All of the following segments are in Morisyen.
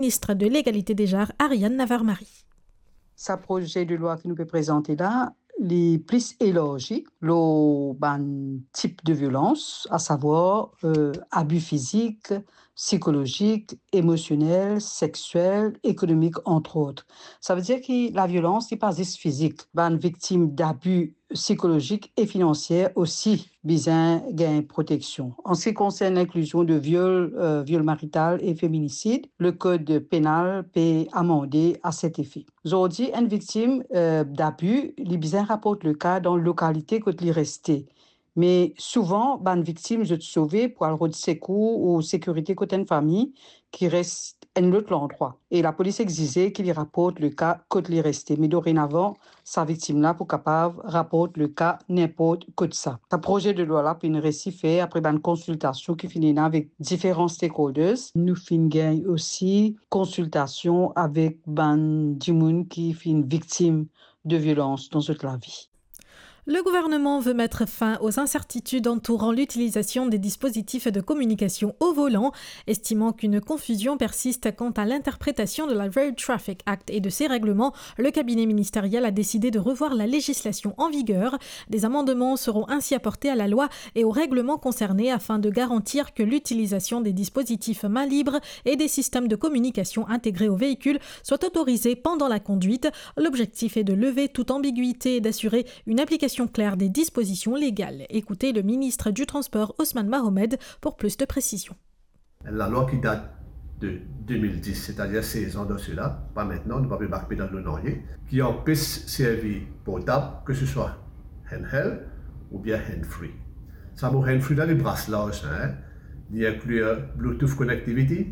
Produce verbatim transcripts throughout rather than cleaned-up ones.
Ministre de Legalite Dejar, Ariane Navarre-Marie. Sa proze de lwa ki nou pe prezante la, li plis elarzi lor bann tip de violans, asavwar, euh, abi fizik, psikolozik, emosionel, sexiel, ekonomik, entre autres. Savedir ki laviolans, li pa zis fizik. Bann viktim dabi psikolozik e finansier osi bizin gagn proteksion. An se ki konsern linklizion de viol, euh, viol marital e feminisid, le kod penal pe amande a set efe. Zordi, enn viktim, euh, dabi, li bizin raport le ka dan lokalite kot li reste. Me souvan, bann viktim, zot sove pou al rod sekour ou sekirite kot enn fami ki res enn lot landrwa. E lapolis exize ki li raport le ka kot li reste. Me dorenavan, sa viktim la pou kapav raport le ka ninport kot sa. Sa proze de lwa la finn resi fer apre bann konsiltasion ki finn ena avek diferan stakeholders. Nou finn gagn osi konsiltasion avek bann dimoun ki finn viktim de violans dan zot lavi. Le gouvernement veut mettre fin aux incertitudes entourant l'utilisation des dispositifs de communication au volant, estimant qu'une confusion persiste quant à l'interprétation de la Road Traffic Act et de ses règlements. Le cabinet ministériel a décidé de revoir la législation en vigueur. Des amendements seront ainsi apportés à la loi et aux règlements concernés afin de garantir que l'utilisation des dispositifs mains libres et des systèmes de communication intégrés au véhicule soit autorisée pendant la conduite. L'objectif est de lever toute ambiguïté et d'assurer une application claire des dispositions légales. Écoutez le ministre du Transport, Ousmane Mohamed, pour plus de précision. Enn lalwa ki dat de de mil dis, setadir sez an de sela, pa mintnan, nou pa pe bak pe dan lor nanye, ki anpes servi portab, ke se swa handheld oubien hand-free. Sa mo hand-free la, li bras larz, hein. Li inkli Bluetooth connectivity,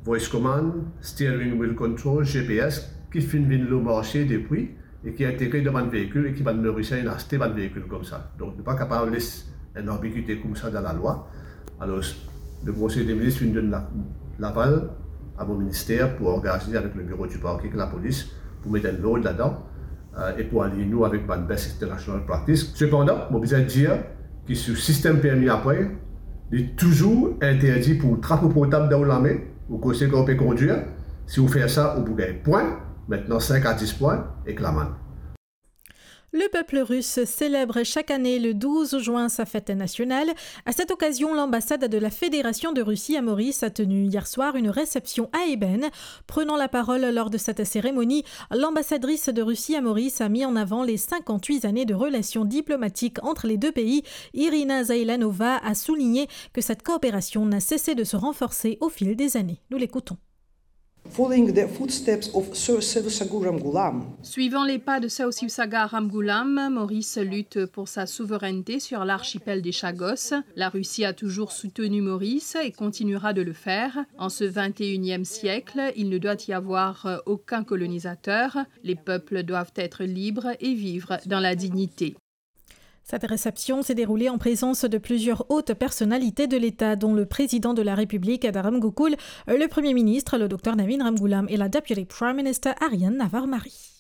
voice command, steering wheel control, G P S, ki finn vinn lor marse depi e ki integre dan bann veikil e ki bann morisien inn aste bann veikil koumsa. Donk, nou pa kapav les enn anbigite koumsa dan lalwa. Alor, le Konsey de Minis finn donn la-, laval a mo minister pou angaze avek le biro du parquet ek lapolis pou met enn lord ladan, euh, e pou align nou avek bann best international practice. Sepandan, mo bizin dir ki sou sistem permi apre, li touzour interdi pou trap ou portab dan ou lame, ou koze kan ou pe kondir. Si ou fer sa, ou pou gagn pwin, mintnan sink a dis pwin ek lamann. Le peuple russe célèbre chaque année le douze juin sa fête nationale. À cette occasion, l'ambassade de la Fédération de Russie à Maurice a tenu hier soir une réception à ébène. Prenant la parole lors de cette cérémonie, l'ambassadrice de Russie à Maurice a mis en avant les cinquante-huit années de relations diplomatiques entre les deux pays. Irina Zailanova a souligné que cette coopération n'a cessé de se renforcer au fil des années. Nous l'écoutons. Following the footsteps of Sir Sivasagar Ramgoolam. Suivant les pas de Sir Sivasagar Ramgoolam, Maurice lutte pour sa souveraineté sur l'archipel des Chagos. La Russie a toujours soutenu Maurice et continuera de le faire. En ce vingt et unième siècle, il ne doit y avoir aucun colonisateur. Les peuples doivent être libres et vivre dans la dignité. Cette réception s'est déroulée en présence de plusieurs hautes personnalités de l'État, dont le président de la République, Adam Gokul, le Premier ministre, le docteur Navin Ramgoolam, et la Deputy Prime Minister, Ariane Navarre-Marie.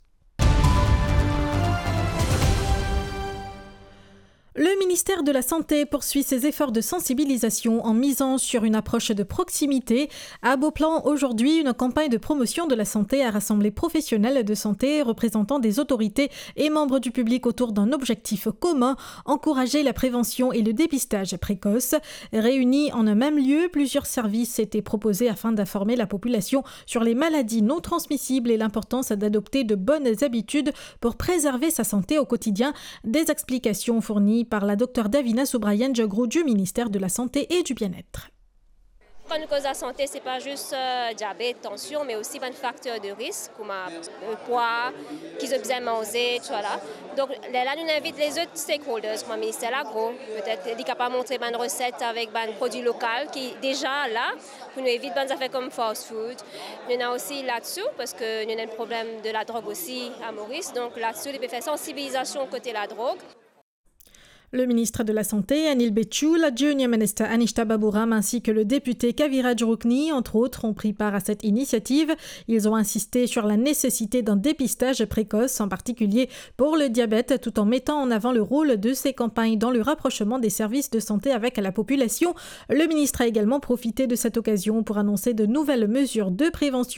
Le ministère de la Santé poursuit ses efforts de sensibilisation en misant sur une approche de proximité. À Beauplan, aujourd'hui, une campagne de promotion de la santé a rassemblé professionnels de santé, représentants des autorités et membres du public autour d'un objectif commun, encourager la prévention et le dépistage précoce. Réunis en un même lieu, plusieurs services étaient proposés afin d'informer la population sur les maladies non transmissibles et l'importance d'adopter de bonnes habitudes pour préserver sa santé au quotidien. Des explications fournies par la docteur Davina Subrayan Jagru du ministère de la Santé et du Bien-être. Kan nou koz lasante, se pa zis, euh, diabet, tansion, me osi bann fakter de risk, kouma, euh, pwa, ki zot bizin manze, tousala. Donk, lerla nou invit lezot stakeholders, kouma minister lagro, petet li kapav montre bann reset avek bann prodwi lokal ki deza la, pou nou evit bann zafer kom fast food. Nou ena osi LADSU, parski nou ena enn problem de ladrog osi a Moris. Donk, LADSU, li pe fer sansibilizasion kote ladrog. Le ministre de la Santé, Anil Bechtchoul, la Junior Minister Anishta Baburam ainsi que le député Kaviraj Rukni, entre autres, ont pris part à cette initiative. Ils ont insisté sur la nécessité d'un dépistage précoce, en particulier pour le diabète, tout en mettant en avant le rôle de ces campagnes dans le rapprochement des services de santé avec la population. Le ministre a également profité de cette occasion pour annoncer de nouvelles mesures de prévention